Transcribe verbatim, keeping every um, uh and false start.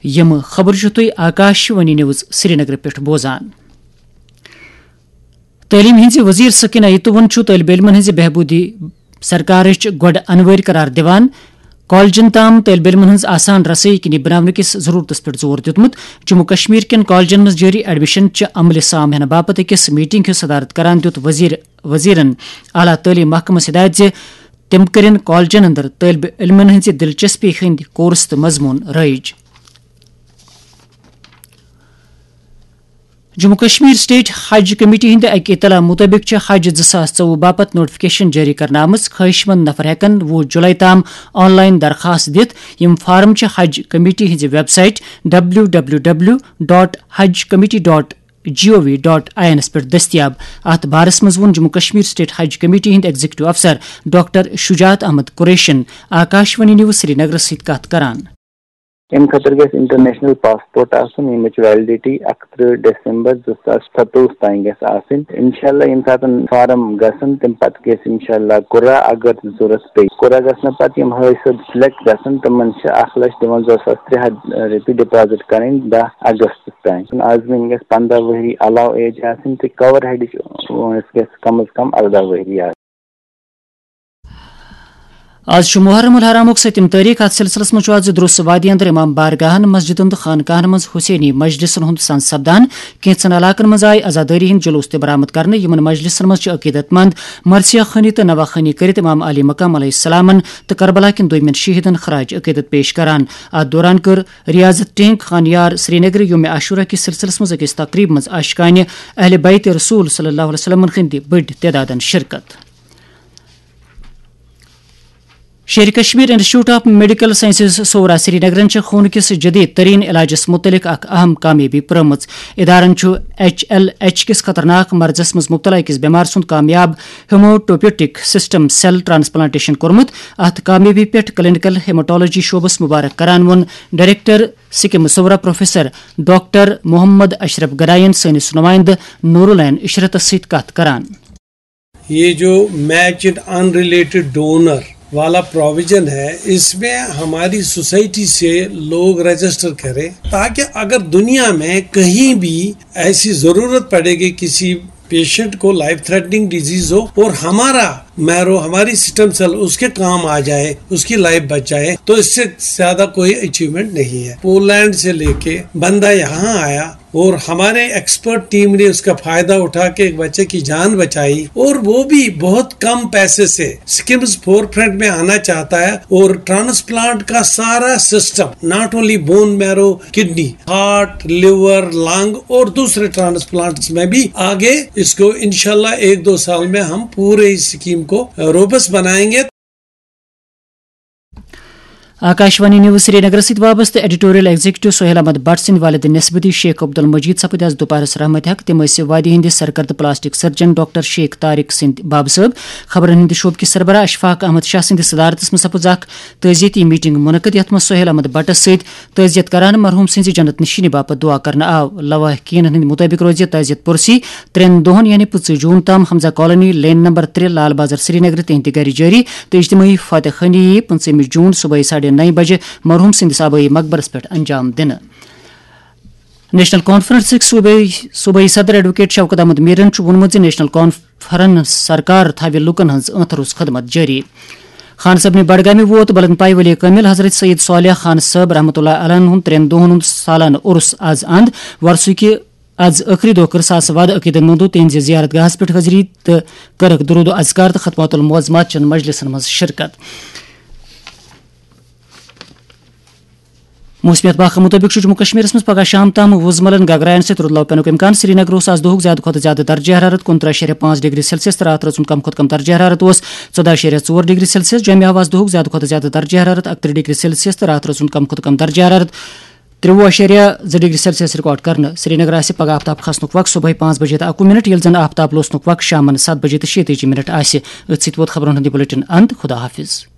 یِم خبرٕ چھِو تُہۍ آکاش وانی نیوز سرینگرٕ پٮ۪ٹھ بوزان۔ تعلیٖم ہٕنٛزِ وزیر سکینہ یتوون چھُ طٲلبہِ علمَن ہٕنٛزِ بہبوٗدی سرکارٕچ گۄڈٕ انوٲرۍ قرار دِوان کالجن تام طٲلبہِ علمَن ہٕنٛز آسان رسٲیی کِنہِ بناونہٕ کِس ضروٗرتَس پٮ۪ٹھ زور دیُتمُت۔ جموں کشمیر کٮ۪ن کالجن منٛز جٲری ایڈمیشن چہِ عملہِ سام ہینہٕ باپتھ أکِس میٹنگ ہٕنٛز صدارت کران دیُت وزیر، وزیرن اعلیٰ تعلیٖم محکمس ہدایت زِ تِم کٔرِن کالجن اندر طٲلبہِ علمَن ہٕنٛزِ دلچسپی ہٕنٛدۍ کورس تہٕ مضموٗن رٲیِج۔ جموں کشمیر اسٹیٹ حج کمیٹی ہٕنٛدِ اکہِ اطلاع مُطٲبِق چھِ حج زٕ ساس ژوٚوُہ باپتھ نوٹیفکیشن جٲری کرنہٕ آمٕژ۔ خٲہِش مند نفر ہٮ۪کَن وُہ جُلَے تام آن لائن درخاست دِتھ۔ یِم فارم چھِ حج کمیٹی ہٕنٛزِ website W W W dot حج committee dot G O V dot I اینَس پٮ۪ٹھ دٔستیاب۔ اَتھ بارَس منٛز ووٚن جموں کشمیر اسٹیٹ حج کمیٹی ہٕنٛدۍ ایگزیکٹو افسر ڈاکٹر شجاعت احمد قریشن آکاشوانی نیوز سرینگرَس سۭتۍ کَتھ کران۔ اَمہِ خٲطرٕ گژھِ انٹرنیشنل پاسپورٹ آسُن، ییٚمِچ ویلڈیٹی اَکترٕہ دسمبر زٕ ساس ستووُہ تام گژھِ آسٕنۍ۔ انشاءاللہ ییٚمہِ ساتہٕ فارم گژھن، تَمہِ پتہٕ گژھِ انشاءاللہ قرعہ اگر ضروٗرت پیٚیہِ۔ قرعہ گژھنہٕ پتہٕ یِم حٲصِل سلیکٹ گژھن، تِمن چھِ اکھ لچھ دُوَنزاہ ساس ترٛےٚ ہتھ رۄپیہِ ڈپازٹ کرٕنۍ دَہ اگست تام۔ عازمین گژھِ پنٛداہ ؤہری علاوٕ ایج آسٕنۍ تہٕ کور ہیڈٕچ وٲنٛس گژھِ کم از کم ارداہ ؤہری آسٕنۍ۔ آز چھُ محرم الحرامُک سٔتِم تٲریخ۔ اتھ سلسلس منٛز چھُ آز درُس وادی اندر امام بارگاہن، مسجدن تہٕ خانقاہن منٛز حسینی مجلسن ہُنٛد سنز سپدان۔ کینٛژن علاقن منٛز آیہِ عزادٲری ہٕنٛدۍ جلوس تہِ برآمد کرنہٕ۔ یِمن مجلسن منٛز چھِ عقیدت مند مرثیہ خوانی تہٕ نواہ خوانی کٔرِتھ امام علی مقام علیہ السلامن تہٕ کربلا کٮ۪ن دویمٮ۪ن شہیدن خراج عقیدت پیش کران۔ اتھ دوران کٔر ریاض ٹینک خانیار سرینگر یوم عاشورہ کِس سلسلس منٛز أکِس تقریب منٛز عاشقانہِ اہل بیت رسول صلی اللہ علیہ وسلم ہٕنٛدِ بٔڑۍ تعدادن شرکت۔ Sheri Kashmir institute of medical sciences Soura سرینگرن چھِ خوٗنہٕ کِس جدید ترین علاجس متعلق اکھ اہم کامیٲبی پرٲومٕژ۔ ادارن چھُ ایچ ایل ایچ کِس خطرناک مرضس منٛز مبتلا أکِس بیمار سُنٛد کامیاب ہیموٹوپیٹک سسٹم سیل ٹرانسپلانٹیشن کوٚرمُت۔ اتھ کامیٲبی پٮ۪ٹھ کلینیکل ہیماٹولوجی شعبس مبارک کران ووٚن director SKIMS Soura professor doctor Mohammad Ashraf گڈاین سٲنِس نمائندٕ نورالعین عشرتس سۭتۍ کتھ کران۔ یہ جو میچ ان ریلیٹڈ ڈونر والا پروویژن ہے، اس میں ہماری سوسائٹی سے لوگ رجسٹر کریں، تاکہ اگر دنیا میں کہیں بھی ایسی ضرورت پڑے گی کسی پیشنٹ کو، لائف تھریٹننگ ڈیزیز ہو اور ہمارا میرو، ہماری سٹم سیل اس کے کام آ جائے، اس کی لائف بچ جائے، تو اس سے زیادہ کوئی اچیومنٹ نہیں ہے۔ پولینڈ سے لے کے بندہ یہاں آیا اور ہمارے ایکسپرٹ ٹیم نے اس کا فائدہ اٹھا کے ایک بچے کی جان بچائی، اور وہ بھی بہت کم پیسے سے۔ سکمز فور فرنٹ میں آنا چاہتا ہے اور ٹرانسپلانٹ کا سارا system, not only bone marrow, kidney, heart, liver, lung اور دوسرے ٹرانسپلانٹس میں بھی آگے اس کو انشاءاللہ ایک دو سال میں ہم پورے اس سکیم کو روبس بنائیں گے۔ آکاشوانی نیوز سرینگرس سۭتۍ وابستہٕ ایڈیٹوریل ایگزیکٹو سہیل احمد بٹ سٕنٛدۍ والد نسبتی شیخ عبدالمجید سپٕدۍ آز دُپہرس رحمت حق۔ تِم ٲسۍ وادی ہٕنٛدِ سرکردٕ plastic surgeon doctor Sheikh Tariq سٕنٛدۍ بابہٕ صٲب۔ خبرن ہٕنٛدِ شعبہٕ کِس سربراہ اشفاق احمد شاہ سٕنٛدِس صدارتس منٛز سپٕز اکھ تعزیتی میٹنگ منعقد، یتھ منٛز سہیل احمد بٹس سۭتۍ تعزیت کران مرحوم سٕنٛزِ جنت نشینی باپتھ دعا کرنہٕ آو۔ لواحقینن ہٕنٛدِ مُطٲبِق روزِ تعزیت پُرسی ترٛٮ۪ن دۄہن یعنی پٕنٛژٕہ جون تام حمزہ کالونی، لین نمبر ترٛےٚ، لال بازار سرینگر تِہنٛدِ گرِ جٲری تہٕ اجتماعی فاتح خوانی یِیہِ پٕنٛژٕہمہِ جون صبحٲے ساڑھے نَیہِ بجہِ مرحوم سٕنٛدِس آبٲیی مقبرس پٮ۪ٹھ انجام دِنہٕ۔ نیشنل کانفرنسٕکۍ صوبٲئی، صوبٲئی صدر ایڈوکیٹ شوکت احمد میرن چھُ ووٚنمُت زِ نیشنل کانفرنس سرکار تھاوِ لوٗکن ہٕنٛز ٲنٛتھ روٚس خدمت جٲری۔ خان صٲبنہِ بڈگامہِ ووت بلند پایہِ ولی کٲمل حضرت سید صالح خان صٲب رحمتہ اللہ علیہ ہُنٛد ترٛٮ۪ن دۄہن ہُنٛد سالانہٕ عرس از اند۔ وۄرثہٕ کہِ از ٲخری دۄہ کٔر ساس وادٕ عقیدن منٛدو تِہنٛزِ زیارت گاہس پٮ۪ٹھ حٲضری تہٕ کٔرٕکھ درود و اذکار تہٕ ختمات المعظمات چٮ۪ن مجلسن منٛز شرکت۔ موسمیات باخ مُطٲبِق چھُ جموں کشمیرس منٛز پگہہ شام تام وُزملن گگراین سۭتۍ رُدلاو پینُک امکان۔ سرینگر اوس آز دۄہُک زیادٕ کھۄتہٕ زیادٕ درجہ حرارت کُنترٕہ اَشاریہ پانٛژھ ڈگری سیلسیس تہٕ راتھ رٲژ ہُنٛد کم کھۄتہٕ کم درجہ حرارت اوس ژۄداہ اَشاریہ ژور ڈگری سیلسیس۔ جوٚمہِ آو آز دۄہُک زیادٕ کھۄتہٕ زیادٕ درجہ حرارت اَکترٕہ ڈگری سیلسیس تہٕ راتھ رٲژ ہُنٛد کم کھۄتہٕ کم درجہ حرارت ترٛوٚوُہ اَشاریہ زٕ ڈگری سیلسیس ریکارڈ کرنہٕ۔ سرینگر آسہِ پگہہ آفتاب کھسنُک وقت صبحٲے پانٛژھ بجے تہٕ اَکوُہ منٹ، ییٚلہِ زن آفتاب لوسنُک وقت شامن ستھ بجے تہٕ شیٚیہِ تٲجی منٹ آسہِ۔ أتھۍ سۭتۍ ووت خبرن ہُنٛد یہِ بلیٹن اند۔ خدا حافظ۔